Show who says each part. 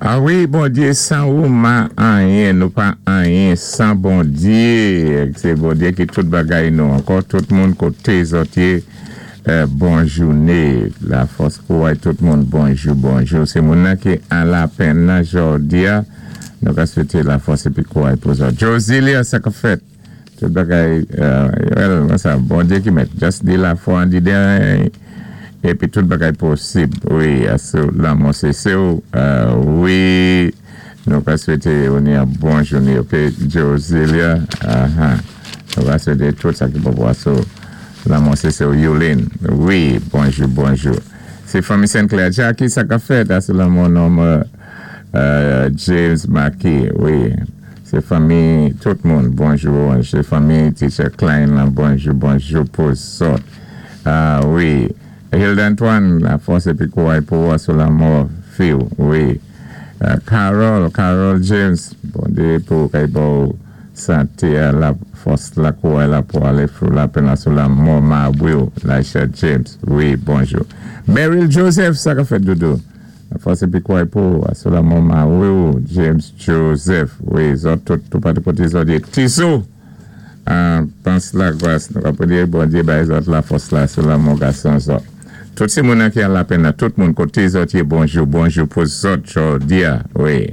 Speaker 1: A wi, Bondyé, san ou ma anyen, nou pa anyen san Bondyé. Sé Bondyé ki tout bagay nou. Ankò tout moun koté zòt yé, bon jouné. Lafòs kouray tout moun, bonjou, bonjou. Sé moun nan ki an lapenn nan jòdi-a, nou ka swété lafòs épi kouray pou zòt. Josilia, sa k-ap fèt? Tout bagay, well, mwen sa, Bondye ki mèt. Just di lafwa an di den, epi tout bagay posib. Wi, asou lanmò se se ou. Wi, nou ka swete ou ni yon bon jounen, ok, Josilia. Aha. Nou ka swete tout sa ki bon pou asou lanmò se se ou, Yulin. Wi, bonjou, bonjou. Se fanmi Sinclair. Jackie, sa k ap fèt? Asou lanmò nonm James Maki. Wi. Se fanmi tout moun, bonjou. Se fanmi Teacher Klein lan, bonjou, bonjou pou zòt. Ah wi. Hilda Antoine, lafòs épi kouray pou ou sou lanmò fi ou. Wi. Carol, Carol James, Bondye pou kay ba ou santé a, lafòs la, kouray la pou alé through lapenn la sou lanmò mari ou, Laisha James. Wi, bonjou. Meryl Joseph, sa k ap fèt, doudou? Fòs épi kouray pou ou sou lanmò mari ou James Joseph. Wi, zòt tout toupatou koté zòt yé. Tizou! Pans Lagras, nou ka priyé Bondye bay zòt lafòs la sou lanmò gason zòt. Tout ti moun nan ki an lapenn nan, tout moun koté zòt yé, bonjou, bonjou pou zòt jòdi-a, wi.